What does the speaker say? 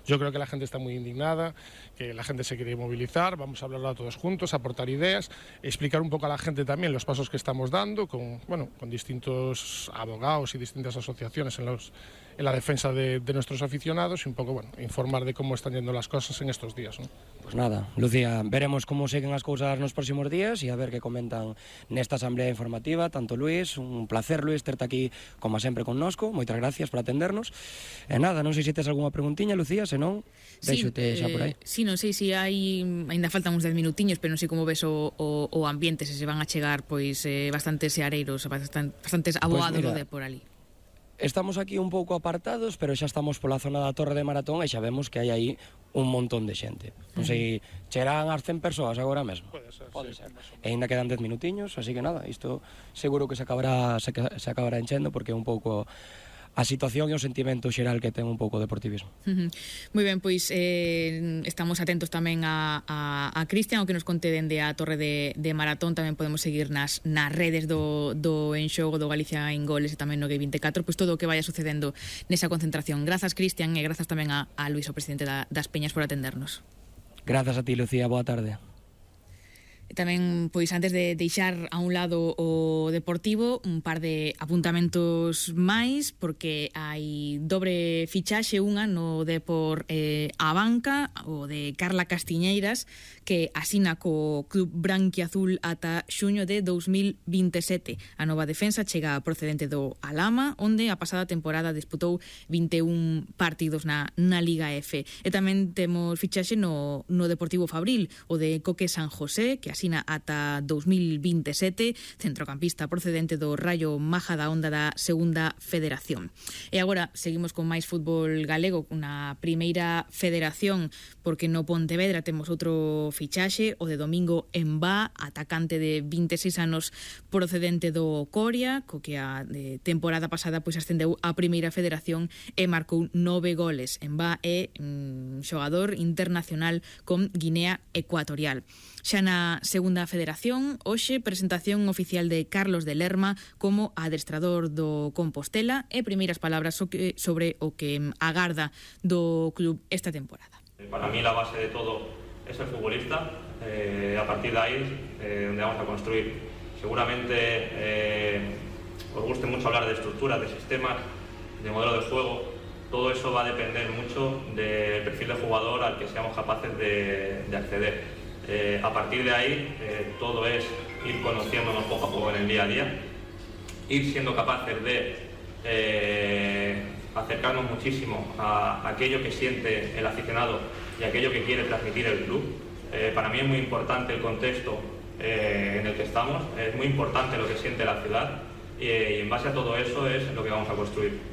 Yo creo que la gente está muy indignada, que la gente se quiere movilizar, vamos a hablarlo todos juntos, aportar ideas, explicar un poco a la gente también los pasos que estamos dando con distintos abogados y distintas asociaciones en la defensa de nuestros aficionados y un poco, informar de cómo están yendo las cosas en estos días, ¿no? Pues nada, Lucía, veremos como seguen as cousas nos próximos días e a ver que comentan nesta asamblea informativa, tanto Luís, un placer, Luís, terte aquí como sempre connosco, moitas gracias por atendernos. E nada, non sei se tes algunha preguntiña, Lucía, senón, deixote xa por aí. Sí, non sei se hai, ainda faltan uns 10 minutiños, pero non sei como ves o ambiente, se van a chegar pois bastantes seareiros, bastantes abogados de por ali. Estamos aquí un pouco apartados, pero xa estamos pola zona da Torre de Maratón e xa vemos que hai aí un montón de xente. Non sei, chegarán as 100 persoas agora mesmo. Pode ser. E ainda quedan 10 minutiños, así que nada, isto seguro que se acabará enchendo porque é un pouco a situación e o sentimento xeral que ten un pouco o deportivismo. Moi ben, pois estamos atentos tamén a Cristian, o que nos conte dende a Torre de Maratón. Tamén podemos seguir nas redes do Enxogo, do Galicia en Goles e tamén no G24, pois todo o que vaya sucedendo nesa concentración. Grazas, Cristian, e grazas tamén a Luís, o presidente das Peñas, por atendernos. Grazas a ti, Lucía, boa tarde. Tamén, pois, antes de deixar a un lado o deportivo, un par de apuntamentos máis, porque hai dobre fichaxe, unha no Depor a banca, o de Carla Castiñeiras, que asina co club branquiazul ata xuño de 2027. A nova defensa chega procedente do Alhama, onde a pasada temporada disputou 21 partidos na Liga F. E tamén temos fichaxe no Deportivo Fabril, o de Coque San José, que asina ata 2027, centrocampista procedente do Raio Majadahonda da Segunda Federación. E agora seguimos con máis fútbol galego, na Primeira Federación, porque no Pontevedra temos outro fichaxe, o de Domingo Embá, atacante de 26 anos procedente do Coria, co que a temporada pasada pois ascendeu á Primeira Federación e marcou 9 goles. Embá é xogador internacional con Guinea Ecuatorial. Xa na Segunda Federación, hoxe presentación oficial de Carlos de Lerma como adestrador do Compostela e primeiras palabras sobre o que agarda do club esta temporada. Para mí la base de todo es el futbolista, a partir de ahí donde vamos a construir. Seguramente os guste mucho hablar de estructuras, de sistemas, de modelo de juego. Todo eso va a depender mucho del perfil de jugador al que seamos capaces de acceder. A partir de ahí todo es ir conociéndonos poco a poco en el día a día, ir siendo capaces de acercarnos muchísimo a aquello que siente el aficionado y aquello que quiere transmitir el club. Para mí es muy importante el contexto en el que estamos, es muy importante lo que siente la ciudad y en base a todo eso es lo que vamos a construir.